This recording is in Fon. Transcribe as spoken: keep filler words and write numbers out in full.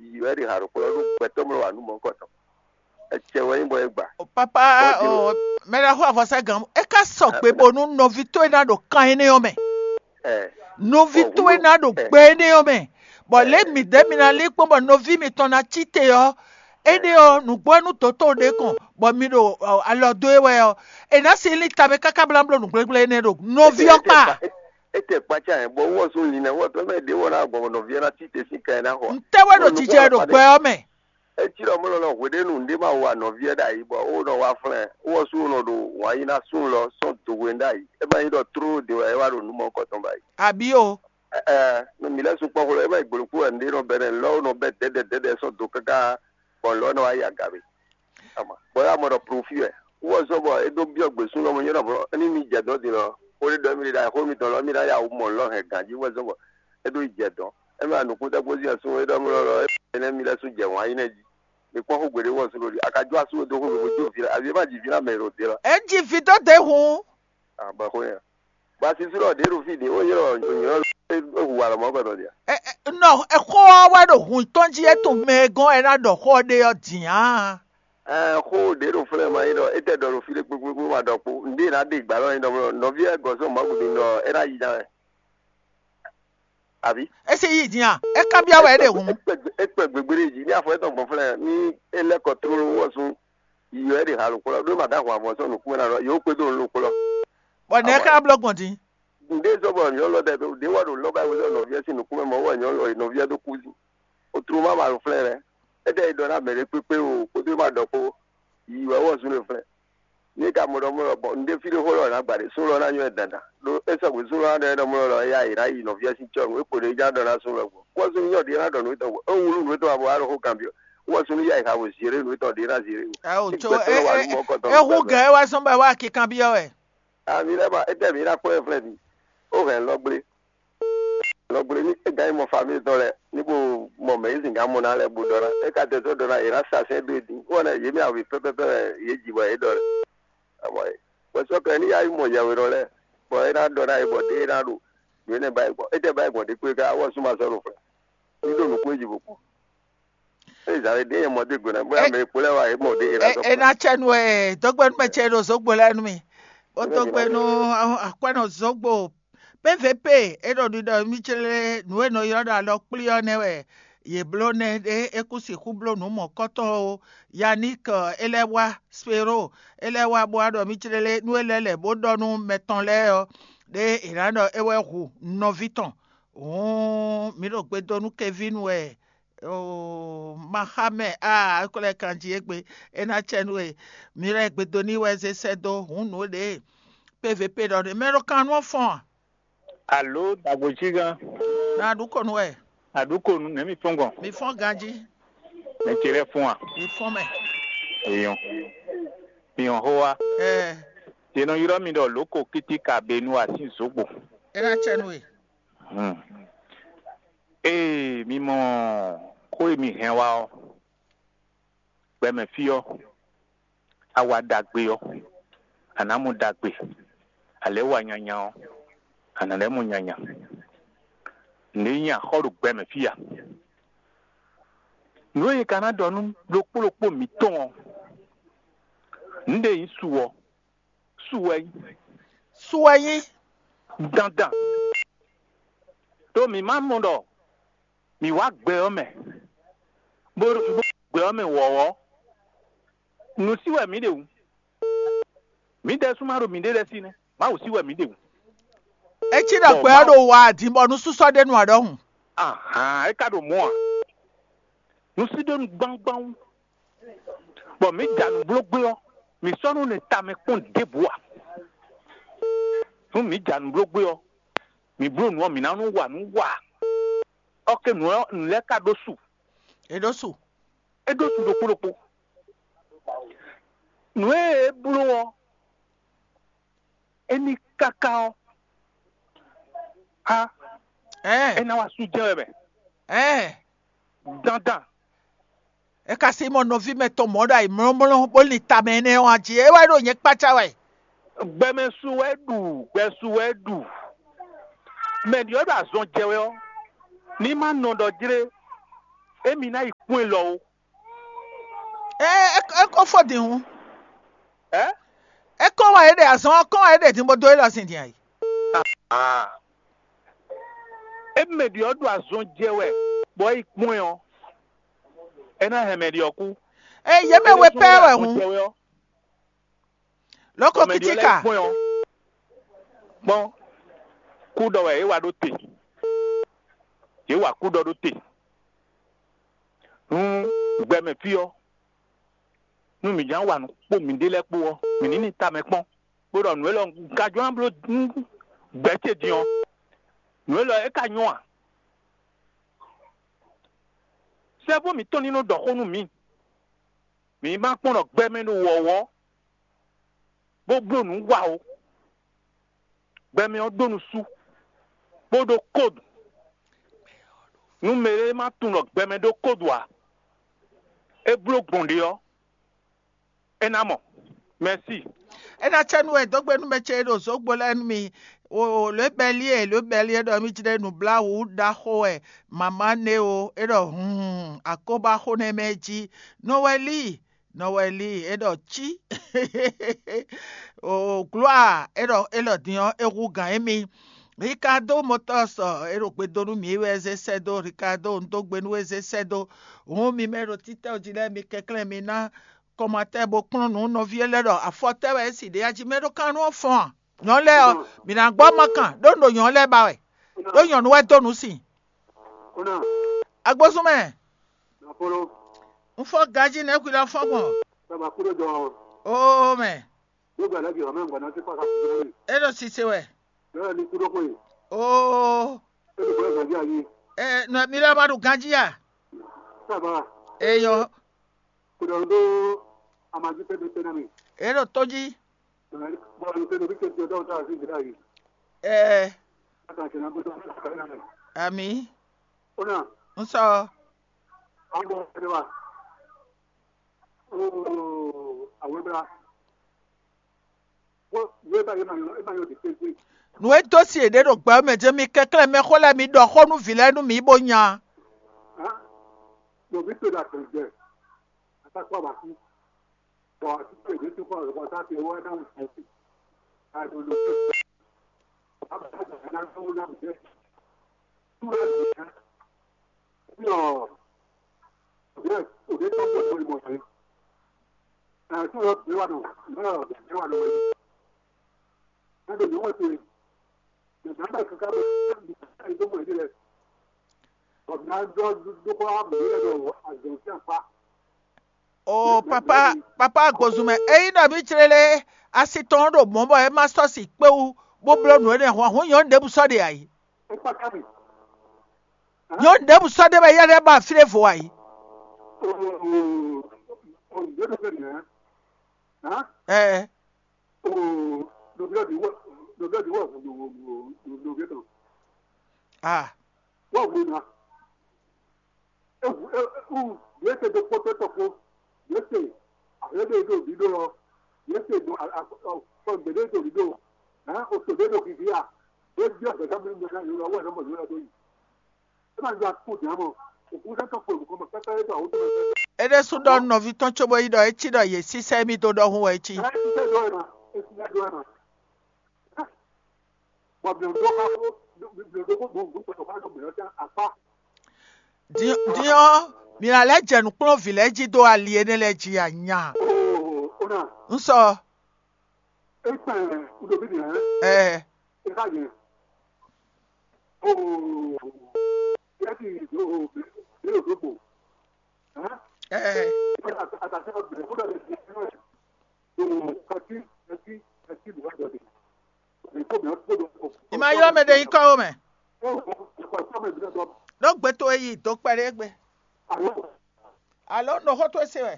Yi wɛ ɖi haɖokplɔ́ nú gbɛtɔ́ mlɔ wǎ nú mɔ̌hunkɔtɔn. Ecɛ wɛ nyí bɔ é gba. Papa, o, mɛ ɖaxó avɔsá gǎn, é ká sɔgbe bónú nɔví towe ná ɖo kan énɛ́ ɔ́ mɛ. Nɔví towe ná ɖo gbɛ énɛ́ ɔ́ mɛ, bɔ lě midɛɛ mi ná lí kpɔ́n bɔ nɔví mitɔn ná cí te ɔ́, énɛ́ ɔ́, nǔgbó nú dǒtó ɖě kɔn, bɔ mi ɖo alɔ dó e wɛ ɔ́, è nǎ si lí tamɛ káká blá bló nǔgblɛ́gblɛ́ énɛ́ ɖo nɔví ɔ́ kpa. Étɛ kpácá yẹn bɔ wɔ sún linɛ wɔ tɔ mɛ ɖé wɔ ná gbɔn nɔví ɔ́ ná cí te sín kan ná xɔ. Ntɛ́ wɛ ɖo jijɛ ɖo gbɛ ɔ́ mɛ? Eci ɖɔ mɔ lɔ hweɖénu ɖé ma wa nɔví ɛ ɖ'ayǐ bɔ ó nɔ wá flɛ́n wɔ sú nɔ ɖo wǎn yí ná sún lɔ sɔ́n do hwe ɖ'ayǐ. É ma nyí ɖɔ tló ɖě wɛ é wá ɖo nǔ mɔ kɔtɔn ba yìí. Àbí o? Ɛɛ, nɔ mǐ lɛ́ sukpɔ́ xwlɔ é ma nyí gboloku wɛ ɖé nɔ bɛ́ nɛ lɔ ó nɔ bɛ́ dɛ̌dɛ dɛ̌dɛ sɔ́n do káká bɔ lɔ nɔ wá yi aga mɛ. Bɔ é wá mɔ ɖɔ profi wɛ wɔ zɔ́n bɔ é ɖó byɔ́ gběsún lɔ mɔ nyɔ́ ɖɔ ní mi jɛ dɔ̌n din lɔ xó ɖé ɖɔ mì ɖe ɖo xó mitɔn lɔ mì ná ya wǔ mɔ lɔ hɛn ganjí wɛ zɔ́n bɔ é ɖó yi jɛ dɔ̌n. É ma nukúnɖɛgbózí ɛ sún é ɖɔ mlɔ lɔ é nɛ́ mi lɛ́ sún jɛ wǎn yí nɛ́ jí. Mi kpɔ́n xó gbeɖé wɔ sún ɖo ɖi a ka jó asú dó xó mi bó jó vǐ lɔ avi é ma ji vǐ ná mɛ ɖo dě lɔ. É jí vǐ dó dě hǔn. Abɔ xó yẹn. Bɔ asisú lɔ ɖě ɖo fí ɖě ó nyɔ́ nyɔ́ é hu wa lɔ mɔ̌ kɔtɔn dia. Nɔ xó ɔ́ wɛ ɖo hun tɔn jí é tún mɛ e gɔ́n ɛ ná ɖɔ xó ɔ́ ɖe ɔ́ dǐn á. Ɛɛ xó ɖě ɖo flɛ́ ma nyí ɖɔ é tɛ ɖɔ ɖo fí ɖé kpékpékpé ma ɖɔ kpo ŋɖé ná ɖe gbǎ lɔ nyí ɖɔ nɔví ɛ gɔ̌ sɔ́ Mawu ɖi ɖɔ é ná yi ná wɛ. Àbí? É sì yí din a? É kanbyɔ́ wɛ é ɖe hǔn. É kpɛ gbégbé ɖé jí ní afɔ étɔn gbɔn flɛ́ ní é lɛ́ kɔ tlóló wɔ sún yi wɛ é ɖe ha lǒkplɔ́ ɖó ma dó ahwan vɔ sɔ́ nǔkún ná ɖɔ yǒ kpédó nǔ lǒkplɔ́. Bɔ nɛ̌ ká blɔ́ gbɔn din? Ŋɖé zɔ́ bɔ nyɔ̌nu lɔ ɖɛ ɖé wɔ ɖo lɔ́ba wezɔ́ nɔví ɛ sín nǔkún mɛ mɔ̌ wɛ nyɔ̌nu lɔ nɔví ɛ dó kú sí. Otló má ma ɖo flɛ́n lɛ́. É ɖɛ yi ɖɔ ná mɛ ɖé kpékpé o kpódó má ɖɔ kpó. Yi wɛ wɔ zún ɖo flɛ́n. Ní ka mɔ ɖɔ mɔ lɔ bɔ un ɖe fí ɖé xó lɔ ná gba ɖě sún lɔ ná nyɔ́ ɛ dandan. Ɖó é sɔgbe sún lɔ ná ɖɔ é ɖɔ mɔ lɔ ya yi ná yi nɔví ɛ sín cɔ́ nú é kpo ɖě já ɖɔ ná sún lɔ gbɔn. Wɔ zún nyɔ́ ɖě ná ɖɔ nǔ tɔn gbɔn. É wlú nǔ tɔn abɔ wá ɖo xó kanbyɔ́. Wɔ zún ya yi xa vo ziré nǔ tɔn ɖě ná ziré. Awo tso é hu gɛ̌ wá sɔn bɔ wá kikanbyɔ́ wɛ. Ami lɛ́ ma étɛ́ mǐ ná kpɔ́n ɛ flɛ́ mi? Ó hɛn lɔ gblé. Lɔ gblé ní é gán yi mɔ famíli tɔn lɛ́ɛ ní bó mɔ mɛ yě zǐngán mɔ ná lɛ́ɛ bó ɖɔ ná. É ka dɛ sɔ́ ɖɔ ná yě ná sa sɛ́n dó é dín. Ó wɛ ná yě mɛ awǐ pɛ́pɛ́pɛ́ wɛ yě ji bɔ yě ɖɔ lɛ́ɛ. Amɔ é. Bɔ sɔ́ kɛ ní yá yi mɔ yɛwě ɖɔ lɛ́ɛ, bɔ é ná ɖɔ ná yě bɔ ɖé é ná ɖo nǔ énɛ́ ba yi gbɔn. Étɛ́ ba yi gbɔn ɖé kpé ká wɔ sú ma sɔ́ ɖo flɛ́. Ní ɖo nǔkún é ji bó kú. É zǎwe ɖé yɛ mɔ dó gbe ná bóyá mɛ e kpo lɛ́ɛ wá yě mɔ ɖé é ná sɔ́. É ná cɛ nú ɛ dɔgbɛnú mɛ ce ɖo zǒgbo lɛ́ɛ nú mi. Bó dɔgbɛnú akwɛ́nɔ zǒgbo P V P é ɖɔ ɖiɖɔ mì clé nǔ e nɔ ylɔ́ ɖɔ alɔ kplí ɔ́ nɛ́ wɛ yě bló nɛ́ ɖé é kú sixú bló nǔ mɔ̌kɔtɔn ó. Yaník é lɛ́ wá, Spero é lɛ́ wá bó wá ɖɔ mì clé nú é lɛ́ lɛ̌ bó ɖɔ nú mɛ tɔn lɛ́ɛ ɔ́, ɖé è nǎ ɖɔ é wɛ hu nɔví tɔn. Hǔn mǐ ɖo gbe dó nú Kevínu wɛ. Oo, ma xa mɛ aa, é ko lɛ́ kan jí égbé, é ná cɛ nú we. Mi lɛ́ gbedo n'i wɛ zé sɛ́ dó hǔn nǔ ɖě P V P ɖɔ ɖe mɛ ɖo kan nú ɔ́ fɔ́n a? Alo dagbojígán? Na ɖu kɔ nú wɛ. Aɖukonu nɛ̌ mi fɔ́n gbɔn? Mi fɔ́n ganjí. Mɛ ce lɛ́ɛ fɔ́n a? Mi fɔ́n mɛ. Èèyàn. Mi hɔn xó wá. Ɛɛ. Yě nɔ ylɔ́ mi ɖɔ lǒko kítíkà benu asín zǒgbo. É ná cɛ nú we. Hmm. Ée mi mɔ xó e mi hɛn wá ɔ́, gbɛmɛ fí ɔ́, a wa ɖagbe ɔ́, a nǎ mɔ ɖagbe; a lɛ̌ wa nyanya ɔ́, a nǎ lɛ́ mɔ nyanya. Nǔ e nyí axɔ́ ɖo gbɛmɛ fí a? Nǔ e ka ná ɖɔ nú ɖokpó ɖokpó mǐtɔn ɔ́, nǔ ɖé nyí su ɔ́, su wɛ nyí. Su wɛ nyí. Dandan. Ɖó mǐ ma mɔ ɖɔ mǐ wá gbɛ ɔ́ mɛ, bó bó gbɛ ɔ́ mɛ wɔ̌wɔ́. Nǔ sí wɛ mǐ ɖe wǔ. Mǐ ɖésú ma ɖo mǐɖée lɛ́ɛ sí nɛ́. Mawu sí wɛ mǐ ɖe wǔ. É cí ɖɔ gbɛ ɔ́ ɖo wa ǎ din bɔ nú súsɔ́ ɖé nu ǎ ɖɔhun. Ahan, é ka ɖo mɔ̌ ǎ. Nǔ sí ɖó nu gbáwúgbáwú. Bɔ mǐ ja nǔ bló gbé ɔ́, mǐ sɔ́ nú nɛ tamɛ kpɔ́n ɖěbǔ ǎ. Nú mǐ ja nǔ bló gbé ɔ́, mǐ bló nǔ ɔ́, mǐ ná nú wa nǔ wa. Ɔ́ ké nǔ ɔ́ nǔ lɛ́ɛ ka ɖó su. É ɖó su. É ɖó su ɖokpó ɖokpó. Nǔ e é bló ɔ́, é ní káká ɔ́, á, Ɛɛ, é ná wá sú jɛ́n wɛ mɛ. Ɛɛ, Dandan. É ka sí mɔ nɔví mɛ tɔn mɔ̌ ɖo ayǐmlɔ́mlɔ́ bó lin tamɛ énɛ́ ɔ́ a jí é wɛ ɖo nyɛ kpácá wɛ. Gbɛmɛ su wɛ ɖu, gbɛ su wɛ ɖu. Mɛ ɖyɔ̌ ɖo azɔn jɛ wɛ ɔ́, ní má nɔ ɖɔ jlé. Émi ná yi kpɔ́n ɛ lɔ ó. É é é kó fó din hǔn. Ɛ? É kó wá é ɖe azɔn ɔ́ kó wá é ɖe din bó dó é lɔ sin din ayǐ. Ah. Émi mɛ ɖi ɔ́ ɖo azɔn jɛ wɛ, bɔ é yi kpɔ́n ɛ ɔ́, é ná hɛn mɛ ɖi ɔ́ kú. É yě mɛ we pɛ́ wɛ hǔn. Loko kitika. Kpɔ́n ɔ, kpɔ́n, kú ɖɔ wɛ é wa ɖó te. Yě wa kú ɖɔ ɖó te. Nú gbɛmɛ fí ɔ́, nú mǐ ján wa nǔ kpó mǐɖée lɛ́ɛ kpó ɔ́, mǐ ní ní tamɛ kpɔ́n, bó ɖɔ nǔ élɔ́ un ka jló ná bló gbɛ̌ ce din ɔ́, nǔ élɔ́ é ka nyɔ́ a? Sɛ́vú mǐtɔn ní nɔ ɖɔ xó nú mǐ. Mǐ ma kpɔ́n ɖɔ gbɛmɛ ɖo wɔ̌wɔ́, bó bló nǔ wa ó. Gbɛmɛ ɔ́ ɖó nusú, bó ɖó kódu. Nú mɛɖé ma tunwun ɖɔ gbɛmɛ ɖó kódu ǎ, é bló gbɔn ɖě ɔ́, é ná mɔ. Mɛ̌si. É ná cɛ nú wɛ dó gbe nú mɛ ce e ɖo zǒgbo lɛ́ɛ nú mi. O lǒ bɛlí e lǒ bɛlí e ɖɔ mì jlɛ́ nǔbláwǔ ɖaxó wɛ mama nɛ́ o, é ɖɔ hun akóbáxó nɛ́ mɛ jí. Nɔ wɛ lí, nɔ wɛ lí, é ɖɔ cí. O glóa, é ɖɔ é lɔ din ɔ́, é hú gǎn émí. Ricardo Motors, é ɖo gbe dó nú mǐ wɛ é zé sɛ́ dó. Ricardo, un dó gbe nú we zé sɛ́ dó. Hǔn mi mɛ ɖo títɛ́ jí lɛ́ɛ, mi kɛnklɛ́n mi ná kɔmatɛ́ bó kplɔ́n nǔ nɔví lɛ́ɛ ɖɔ afɔ tɛ́ wɛ é si ɖě ají mɛ ɖó kan nú ɔ́ fɔ́n a? Nyɔ̌nu lɛ́ɛ ɔ́, mǐ ná gbɔ ma kan ɖó un ɖo nyɔ̌nu lɛ́ɛ ba wɛ, ɖó nyɔ̌nu wɛ dó nǔ sin. Agbósún mɛ, un fɔ ganjí nɛ́ hwi lɔ fɔ́n gbɔn. Oo mɛ, é ɖo sise wɛ. Oo, ɛ nɔ mi lɛ́ ma ɖo ganjí a? Eyɔ, é ɖo tó jí. Ɛɛ, ami, un sɔ. Nǔ e dó si yěɖée ɖo gbɛ ɔ́ mɛ jɛ́n mi kɛnklɛ́n mɛxó lɛ́ɛ mi ɖɔ xó nú vǐ lɛ́ɛ nú mǐ bó nya. Ɖo vǐ towe ɖo agbɛ̌jɛ, a ka kpɔ́ abasi, bɔ así towe ɖě tún kpɔ́n lɔ̌xɔ́sá towe wɛ ná wǔ sɛ́n. A ɖo ɖo Oo papa, papa Agbozumɛ, ényí nɔví ce lɛ́ɛ asi tɔn ɖo mɔ̌ bɔ é ma sɔ́ si kpé wú bó bló nǔ énɛ́ hwan hǔn nyɔ̌nu ɖěbǔ sɔ́ ɖe ǎ yi. Nyɔ̌nu ɖěbǔ sɔ́ ɖe wɛ yɛ́ lɛ́ɛ ba fí ɖěvo ǎ yi. Ɛɛ. Ah. Yě se ɖo kpɔ́tɔ́ tɔn kpó, yě se ahwě ɖé ɖo ɖiɖó ɔ́, yě se ɖo kɔgbě ɖé ɖo ɖiɖó, hɛn oto ɖé ɖo xixí a, yě byɔ́ gbɛ̌ta mɛ mɛ ná yǒ lɔ wɛ nɔ mɔ yǒ lɔ dó yi. É ma ɖo akpó dǎ mɔ, òkú sɛ́ tɔn kpo nǔkɔn mɔ pɛ́pɛ́ ɖo awǒ tɔn mɛ. É ɖésú ɖɔ nɔví tɔn cóbó yi ɖɔ é cí ɖɔ yě sísɛ́ mì dó ɖɔhun wɛ é cí. Ɛ é sísɛ́ dó ɛ ma, é sísɛ́ dó ɛ ma. Bɔ mǐ ɖó xá xó, mǐ ɖó xó gbɔn nǔ kpɔtɔ xá ɖo mǐ ɔ́ tán akpá. Din ɔ́, mǐ ná lɛ́ jɛ nǔ kplɔ́n vǐ lɛ́ɛ jí dó ali énɛ́ lɛ́ɛ jí a nya? Oo, ó nà. Un sɔ. É kpɛn wúɖobí nìyẹn. Ɛɛ. É xá yẹn. Oo, é ti do, é lò dó gbò. Ɛɛ. Ì ma ylɔ́ mɛ ɖe nyí kɔ́ ó mɛ. Ɖó gbé tó e yi dǒ kpɛɖé gbe. Alo un ɖo xó towe se wɛ.